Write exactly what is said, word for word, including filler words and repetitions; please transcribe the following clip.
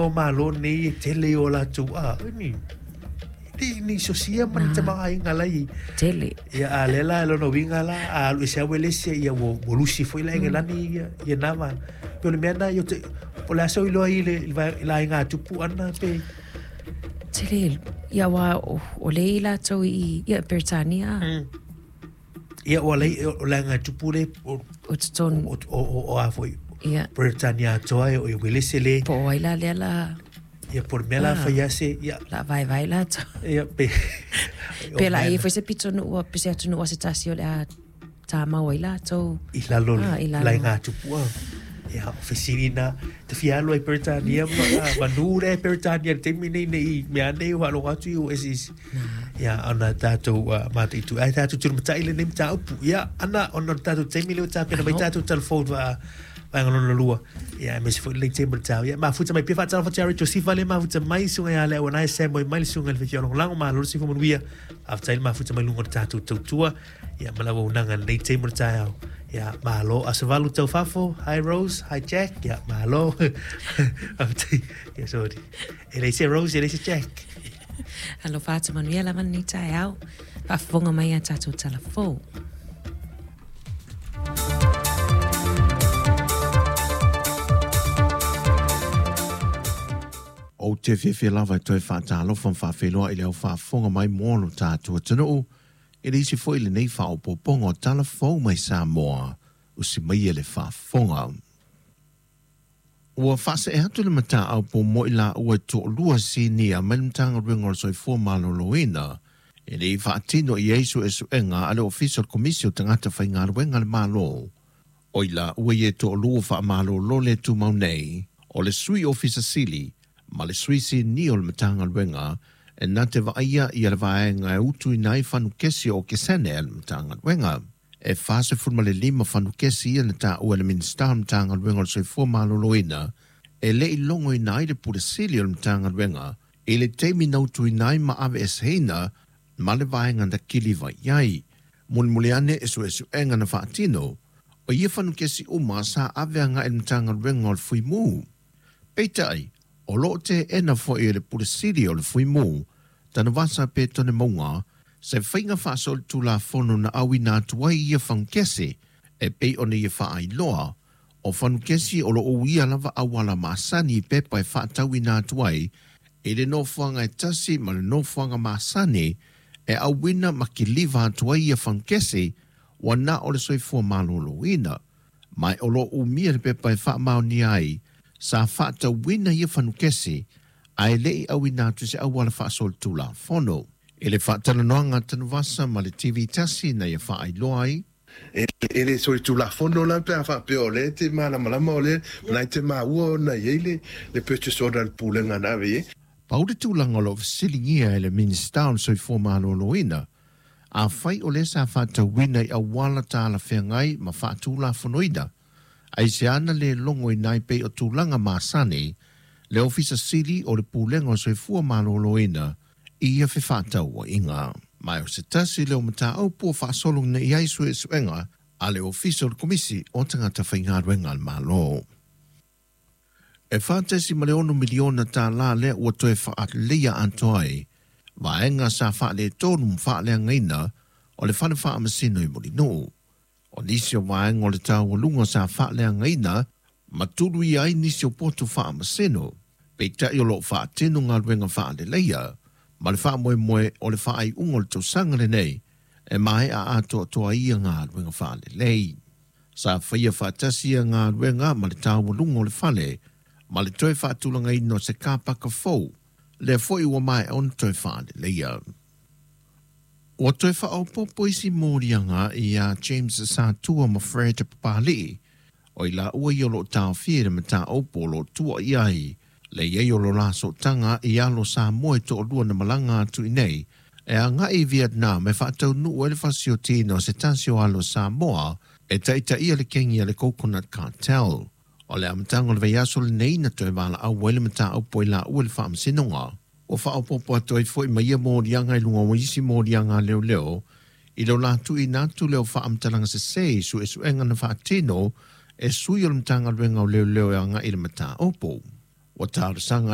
o malo nei e tele o latou a ni ni ni sosia ma ni tamaiga lai tele ia a lela lo no winga la a lu se awelese ia wo lusi foi la ngelani ia ia nama pe le mea na yo te o la so ilo ai le la inga tupu ana pe tele ia wa o le latou i ia Britania ia o le o la inga tupu le o ton o o o a foi ia Britania toa o welese le po ai la le la ia por mela faiase ia la vai vai la to ia pe pe la e foi se pito no o pe se atu no se tasi o le ta mau ai la to i la lo la inga tupu ia ofisina te fialo i Britania ma nure Britania te mine nei me ane o lo atu o esis ia ana tatou ma te tu ai tatou tu matai le nem tau ia ana ona tatou te mile o ta pe mai tatou telefone va va ngolo lua ia me se foi le tempo tau ia ma futa mai pe fa tau fa tari Joseph vale ma futa mai sunga ia le ona se moi mai sunga le fiolo lango ma lo si fo manuia after ma futa mai lungo tatou tautua ia malawa unanga le tempo tau ia malo asavalu tau fafo hi Rose hi Jack ia malo ia sorry ele se Rose ele se Jack alo fa manuia la mani tau fa fonga mai a tatou telefone. O te fiafia lava e toe faatalofa ma faafeiloa i le au faafofoga mai mo lo tatou atunuu e le isi foi lenei faaopoopoga o tala fou mai Samoa usi mai e le faafofoga. Ua faasee atu le mataupu mo i laua e toalua sinia mai le Matagaluega o le Soifua Maloloina e le i faatino i ai suesuega a le Ofisa o le Komisi o Tagata Faigaluega a le Malo. O i laua ia e toalua faamalolo le tumau nei o le sui ofisa sili ma le sui sinia o le Matagaluega e na te vaaia ia le vaega e utu i nai fanukesi o kesene a le Matagaluega. E whasefulu ma le lima fanukesi ia na taua le Minista o le Matagaluega o le Soifua Maloloina e le i longo i nai le pule sili o le Matagaluega i le taimi na utu i nai ma ave eseina ma le vaega na kiliva i ai. Mulimuli ane e suesuega na faatino o ia fanukesi uma sa ave anga e le Matagaluega o le Fuimu. Peitai, o loo te ena foi e le pule sili o le Fuimu, Tanuvasa pe tone maunga, se whainga whaso le tulafono na awina atu ai ia whankese, e pei ona ia whaailoa, o whanukesi o lo o ia lava awala maasani pepa e whaatauina atu ai, e le nofoanga e tasi ma le nofoanga maasani, e awina makiliva atu ai ia whankese, wana o le soifua maloloina, mai o lo umia le pepa e whaamaoni ai, sa whaatauina ia whanukesi, ae lei awina atu se awala whaasol tulafono. E le whaatalanoanga Tanuvasa ma le T V tasi na ia whaailoa ai. E le soli tulafono la pe a whaapea o le te malamalama o le, nai te maua o na iei le, le purchase order le pulenga na ave e. Pau le tulaga o lo fesilingia e le Minista o le Soifua Maloloina, a whai o le sa whaatauina i awala tāla whengai ma whaatulafonoina, ai se ana le longo i nai pei o tulaga masani, le ofisa sili o le pulenga o Soifua Maloloina, i ia fefātauaiga. Mai o se tasi le o mataupu o faasolo nei ai suesuega a le ofisa o le Komisi o Tagata Faigaluega a le Malo. E whātesi ma le ono miliona tālā lea ua toe whaatleia atoa ai, vaenga sa whaale tonu mwhaaleangaina o le whale whaamasino i Mulinuu. O nisi o vaenga o le taualunga sa whaaleangaina, matulu i ai nisi o potu whaamasino, peitai o lo whaatino ngā whaaleleia, ma le whaamoemoe o le whaaiunga o le tausaga lenei, e mae a atoa toa ia ngā luenga whaalelei. Sa whaia whaatasi ia ngā luenga ma le taualunga o le whale, ma le toe whaatulanga o se kāpaka fou, le foi ua mae ona toe whaaleleia. Ua toe whaopopo isi mōrianga i a James Satua ma Fred Papali'i, o i la ua i o lo tāwhia le mataopo lo tua i ai, le iei o lo laso tanga i alo sa moe to lua na malanga atu i nei, e a ngai Vietnam e whaatau nuu e le fasiotina o se tasi o alo Samoa e taita ia le kengi a le Coconut Cartel. O le amataga o le vaiaso lenei na toe vala au ai le mataupu i la ua le faamasinoga. O faaopoopo atu ai foi ma ia moliaga i luga o isi moliaga leoleo i lo latou ina atu leo faamatalaga sesē i suesuega na faatino e sui o le Matagaluega o Leoleo e agai i le mataupu. Ua talosaga